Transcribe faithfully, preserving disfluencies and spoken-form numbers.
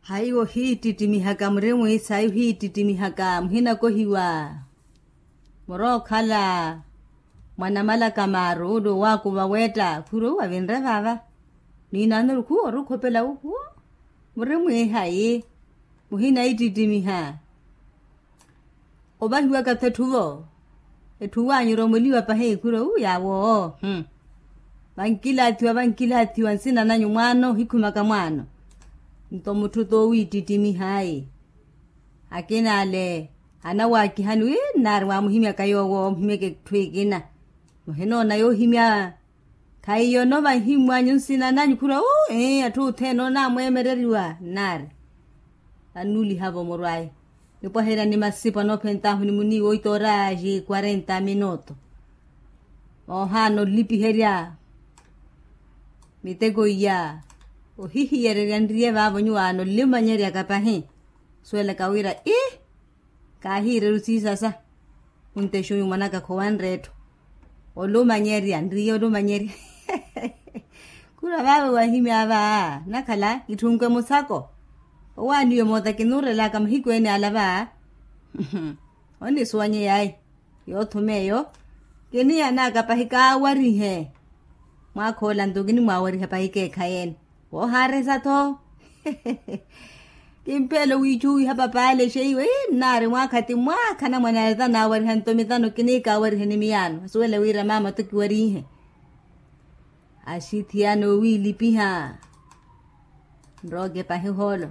Haiwo hiittittimiha ka muri mwiisa ayi hiittittimiha ka muhinakohiwa. Muri okhala mwa namala ka maaru ule owaakuva weetta khuri owu avinre vaava. Niinaanoru khuwo ori okhopela wu khuwo muri mwiihayi muhinaittittimiha. Ovahiwaka-tho etthu vo etthu waanyu oromoliwa pahi khuri owu yaawo. Vankilaathiwa vankilaathiwa nsina nanyu mwaano ohikhumaka mwaano. Nto mutthu t'owiittittimiha ayi akina ale anawaakihani wi nnaari mwaamuhimyaka yoowo omuhimyaka etthu ekina. Muhinoona yoohimya khaiyo nova nhimmwanyu nsina nanyu khura uu ii atthu othene onaamweemereriwa nnaari. Annuuliha-vo murw'aye nipwaherya ni masipo anoophent'ahu ni muniiwa oitoora aji quarenta minuto. Moohaana olipiherya miteko iya ohihiyererya nriye vaavo nyuwo aana olimanyeryaka pahi. Suwelaka wira ii kaahiireru siisasa. Ontexuyu mwanaka khowanre etthu olumanyerya nriye olumanyerya. Khura vaavo wahimya va nakhala kitthunke musako. Owaaniwe moota kinuurelaka mahiku ene ala va. Onisuwanyeyayi yoothuma eyo kiniyanaka pahi kaawarihe. Mwaakha ola nto kinimwaawariha pahi keekhayi ene woohaaresa-tho. Kimpeelo wiicuwiha papaale exeiwe ii nnaari mwaakha ti mwaakha anamwane ale tanaawariha nto mitano kiniikaawariha ni miyaano asuwele wira maama-tho kiwarihe. Axithiyana owiilipiha nrooke pahi ohoolo.